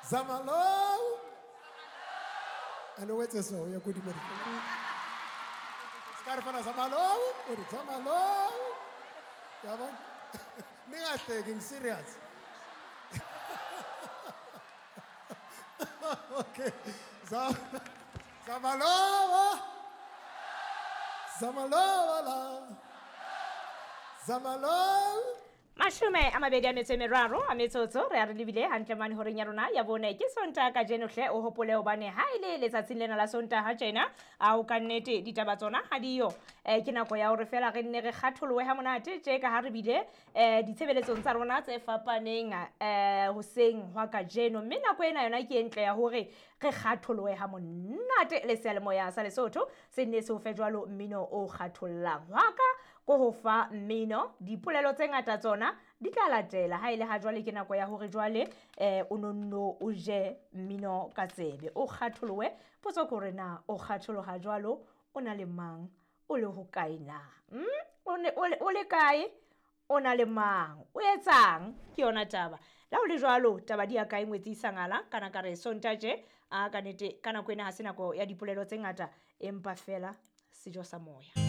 Zama low. And o etse so, o ye kodimo. Se ka re fana zama low, o re zama low. Yabona? Ningahleki, ngi-serious. Okay. Zama, zama low. Zama low la. Zama low. 23 a metsotso re a re lebile hantle mane horeng ya rona ya bone ke Sontaha kajeno hle o hopole hobane ha e le letsatsing lena la Sontaha tjena ao ka nnete ditaba tsona ha diyo. Ke nako ya hore fela re nne re kgatholohe ha monate tje ka ha re bile ditshebeletsong tsa rona tse fapaneng hoseng hwa kajeno, mme nako ena yona ke e ntle ya hore re kgatholohe ha monate le seyalemoya sa Lesotho se nne se o fe jwalo mmino o kgathollang. Hwa ka ko ho fa mmino, dipolelo tse ngata tsona di tla latela. Ha e le ha jwale ke nako ya hore jwale o nonno o je mmino ka tsebe, o kgatholohe. Potso ke hore na o kgatholoha jwalo o na le mang, o le hokae na? O le kae, o na le mang, o etsang? Ke yona taba. Le ha ho le jwalo, taba di ya kae ngwetsi sangala? Kana ka re Sontaha tje, a ka nnete ka nako ena ha se nako ya dipolelo tse ngata, empa fela sejo sa moya.